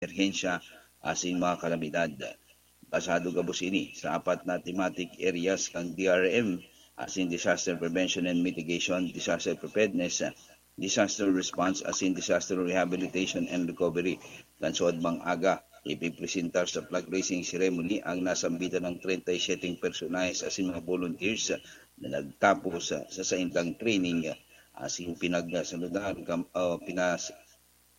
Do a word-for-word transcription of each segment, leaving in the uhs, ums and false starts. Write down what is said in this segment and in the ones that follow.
emerhensya asin mga kalamidad. Basado gabos ini sa apat na thematic areas kan D R M, asin Disaster Prevention and Mitigation, Disaster Preparedness, Disaster Response, asin Disaster Rehabilitation and Recovery. Kan suodmang aga, ipipresentar sa flag raising ceremony ang nasambitan ng treinta y siete personahe asin mga volunteers na nagtapos sa, sa saindang training, asin pinagsaludan kam, o pinas-,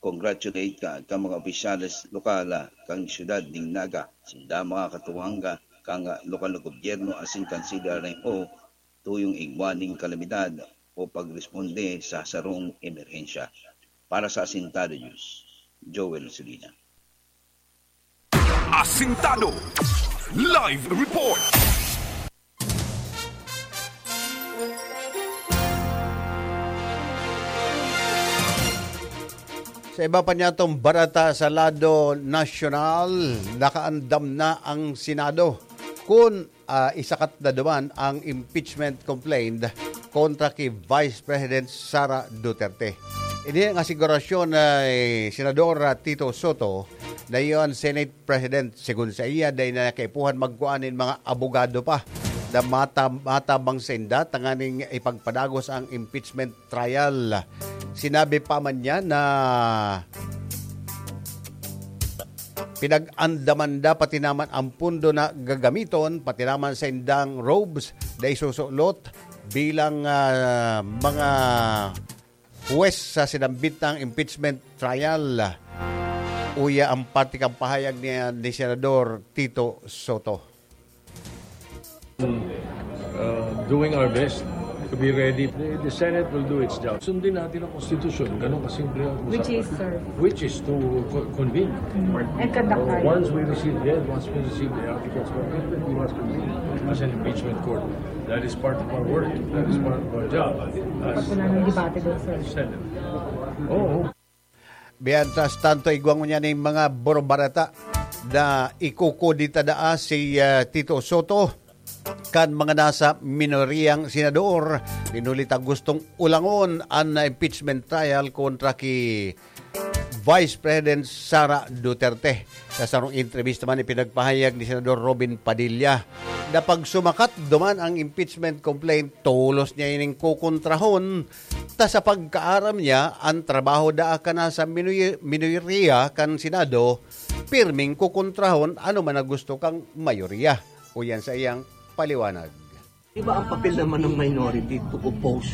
congratulate ka, ka mga opisyales lokal, ah, kan siyudad ning Naga, sinda mga katuwang, ah, kan, ah, lokal na gobyerno asin kan C D R M O, tuyong igwa ning kalamidad o pagresponde sa sarong emerhensya. Para sa Asintado News, Joel Sulina. Asintado Live Report. Sa iba pa niyatong barata sa lado nasyonal, nakaandam na ang Senado kun, ah, isakat na duman ang impeachment complaint kontra ki Vice President Sara Duterte. Ini ang asigurasyon ni Senador, ah, Tito Soto, na iyo an Senate President. Segun saiya, dai na kaipuhan magkua nin mga abogado pa na mata-, matabang sainda tanganing ipagpadagos ang impeachment trial. Sinabi pa man niya na pinag-andaman da pati naman ang pundo na gagamiton, pati naman saindang robes na isusulot bilang, ah, mga huwes sa sinambit na impeachment trial. Uya ang parte kan pahayag ni, ni Senador Tito Soto. Uh, doing our best to be ready. The, the Senate will do its job. Sundin natin ang konstitusyon. Ganun kasimple ang Which is, usapan. Sir? Which is to co- convene. And conduct Uh, trial. once we receive, yes, once we receive the articles, we must convene as an impeachment court. That is part of our work. That is part of our job. Pag As, wala nang debate doon, sir. Senate. Oo. Mientras tanto, igwa ngunyan ning mga borobarata na ikukudita daa si, ah, Tito Soto kan mga nasa minoriyang senador. Pinulit ang gustong ulangon an impeachment trial kontra ki Vice President Sara Duterte. Sa sarong entrevista man, ipinagpahayag ni Senador Robin Padilla na pag sumakat duman ang impeachment complaint, tolos niya ining kukontrahon. Ta sa pagkaaram niya, ang trabaho daa ka na sa minoy- minoriya kan Senado, pirming kukontrahon ano man na gusto kang mayoriya. Uyan sa iyang paliwanag. Di ba ang papel naman ng minority to oppose?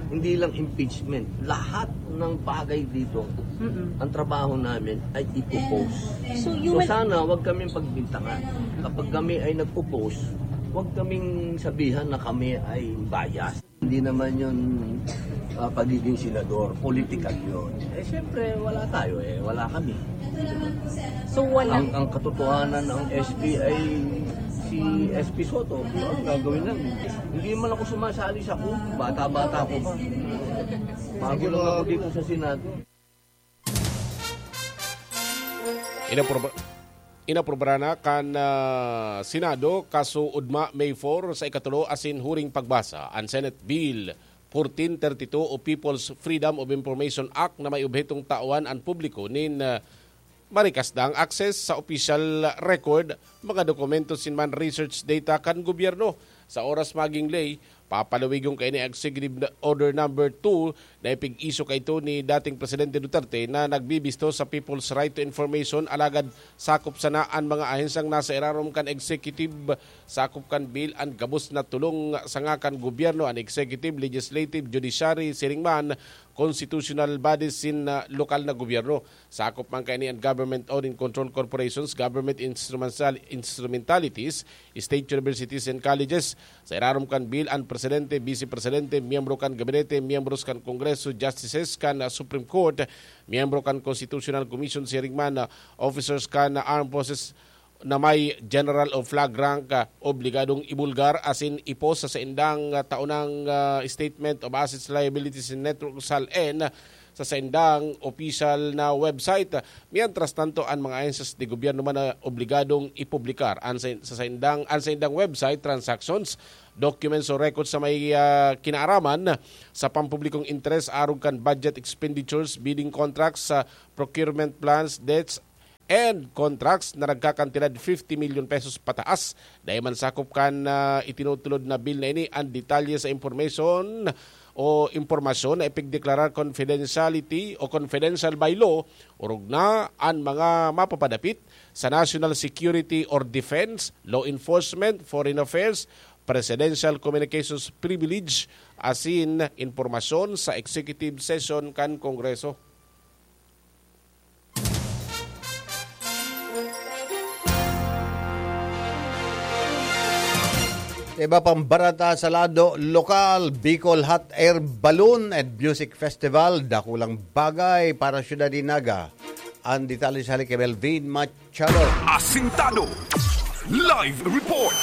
Hindi lang impeachment. Lahat ng bagay dito, ang trabaho namin ay i-oppose. So, So you will... sana wag kaming pagbintangan. Kapag kami ay nag-oppose, wag kaming sabihan na kami ay bias. Hindi naman yun ah, pagiging senador. Political yun. Eh, siyempre, wala tayo eh. Wala kami. So, wala... Ang, ang katotohanan ng S P ay si S P Soto. Ano ang gagawin namin? Hindi man ako sumasali sa coup. Bata-bata ko pa. Bago lang ako dito sa Senado. Inapruba-, inaprubra na kan, ah, Senado, kaso ugma May four sa ikatulo asin huring pagbasa, an Senate Bill fourteen thirty-two o People's Freedom of Information Act na may obhetong tawan an publiko nin, ah, marikasdang access sa official record, mga dokumento sin man research data kan gobyerno. Sa oras maging ley, papalawigon kaini an Executive Order Number two na ipig-iso kaito ni dating Presidente Duterte na nagbibisto sa People's Right to Information, alagad sakop sana an mga ahensyang nasa irarom kan executive, sakop kan bill an gabos na tolong sanga kan gobyerno, an executive, legislative, judiciary, siring man, constitutional bodies sin, ah, lokal na gobyerno. Sakop man kaini an government-owned and controlled corporations, government instrumental-, instrumentalities, state universities and colleges. Sa irarom kan bill, an presidente, vice presidente, miyembro kan gabinete, miyembros kan Kongreso, justices kan, ah, Supreme Court, miyembro kan Constitutional Commission, siring man, ah, officers kan, ah, armed forces na may general o flag rank, ah, obligadong ibulgar asin ipos sa saindang, ah, taunang, ah, statement of assets, liabilities and net worth, sal-en, sa saindang opisyal na website. Mientras tanto, an mga ahensyas de gobyerno man na obligadong ipublikar an sa, sa saindang, an saindang website, transactions, documents o records sa may, ah, kinaaraman sa pampublikong interes arog kan budget expenditures, bidding contracts, sa procurement plans, debts, and contracts na nagkakantidad fifty million pesos pataas. Dai man sakop kan, ah, itinutulod na bill na ini an detalye sa information o impormasyon na ipigdeklarar confidentiality o confidential by law, orog na an mga mapapadapit sa national security or defense, law enforcement, foreign affairs, presidential communications privilege, asin impormasyon sa executive session kan Kongreso. Sa iba pang barata sa lado lokal, Bicol Hot Air Balloon and Music Festival, dakulang bagay para sa syudad ni Naga. Ang detalye sa hali kay Melvin Machado. Asintado. Live report.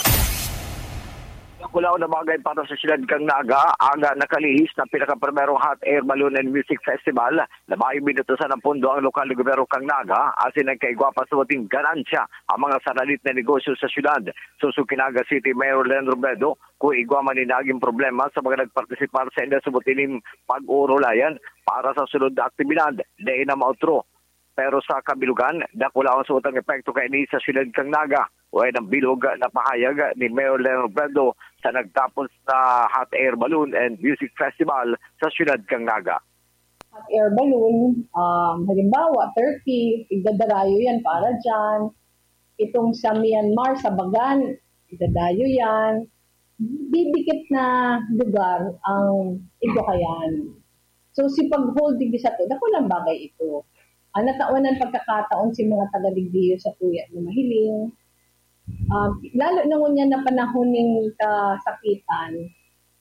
Dakulaon na bagay para sa syudad kan Naga, ang nakalihis na pinakaprimerong Hot Air Balloon and Music Festival na mayo binutusan ng pondo ang lokal na gobyerno kan Naga, asin nagkaigwa pa sa buting ganansya ang mga saralit na negosyo sa syudad. Susog ki Naga City Mayor Len Robredo, kung igwa man ni naging problema sa mga nagpartisipar sa inda sa buting pag-uurulayan para sa sunod na aktibidad, dai na maotro. Pero sa kabilugan, dakulaon sa utang epekto kaini sa syudad kan Naga. Wayan ang bilog na pahayag ni Mayor Len Robredo sa nagtapos na Hot Air Balloon and Music Festival sa syudad kan Naga. Hot air balloon, um, halimbawa, thirty, igdadarayo yan para dyan. Itong sa Myanmar, sa Bagan, igdadayo yan. Didikit na lugar ang igwa kayan. So, si pag-hold digdi sato, dakulang bagay ito. Ah, natawan ang pagkakataon si mga taga-digdi sato na mahiling. Ah, lalo na ngunyan na panahon ning kasakitan,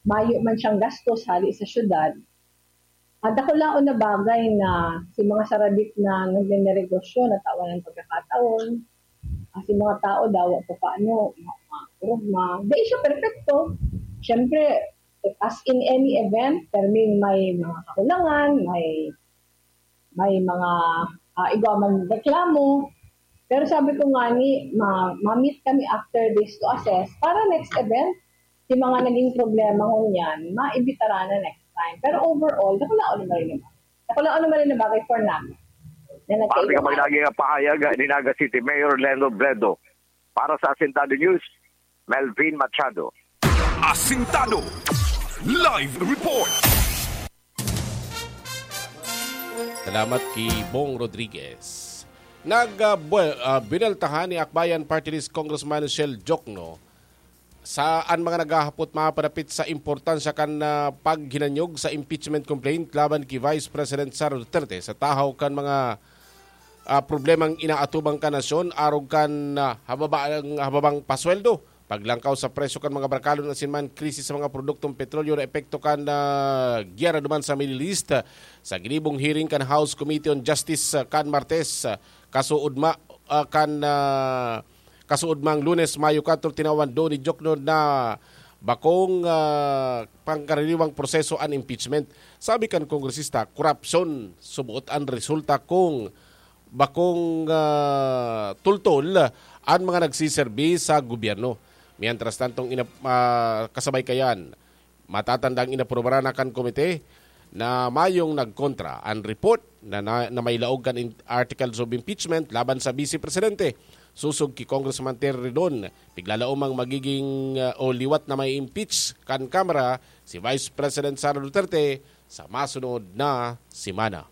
mayo man siyang gastos hali sa syudad. Ah, dakulaon na bagay na si mga saralit na nagninegosyo, natawan ang pagkakataon. Ah, si mga tao daw, paano, ma-, ma-, ma-, di siya perfecto. Siyempre, as in any event, perming may mga kakulangan, may, may mga, ah, igwa man reklamo. Pero sabi ko nga ni, ma-, ma-meet kami after this to assess. Para next event, yung mga naging problema ngunyan, maibitara na next time. Pero overall, dakulaon naman rin naman. Dakulaon naman rin na bagay for namin. Na Pati nagkaiba kapag na. Lagi ang pahayag ni Naga City Mayor Len Robredo. Para sa Asintado News, Melvin Machado. Asintado. Live report. Salamat ki Bong Rodriguez. Nag, ah, buel-, ah, bineltahan ni Akbayan Party List Congressman Shell Jokno sa an mga naghahapot mapapadapit sa importansya kan, ah, paghinanyog sa impeachment complaint laban ki Vice President Sara Duterte sa tahaw kan mga, ah, problemang inaatubang kan nasyon arog kan, ah, hababang, hababang pasweldo, paglangkaw sa presyo kan mga barkalon asin man krisis sa mga produktong petrolyo na epekto kan, ah, gyera duman sa Middle East. Sa ginibong hearing kan House Committee on Justice, ah, kan Martes, ah, kasuodma, ah, kan, ah, kasuodmang Lunes, Mayo kuwatro, tinawan do ni Jokno na bakong, ah, pangkaraniwang proseso an impeachment. Sabi kan kongresista, korapsyon suboot an resulta kung bakong, ah, tultol an mga nagsiserbi sa gobyerno. Mientras tantong ina-, ah, kasabay kayan, matatandang inaprubaran na kan komite na mayong nagkontra an report na, na, na may laog kan in-, articles of impeachment laban sa Vice Presidente. Susog ki Congressman Terry Ridon, piglalaomang magiging, ah, o liwat na may impeach kan Kamara si Vice President Sara Duterte sa masunod na semana.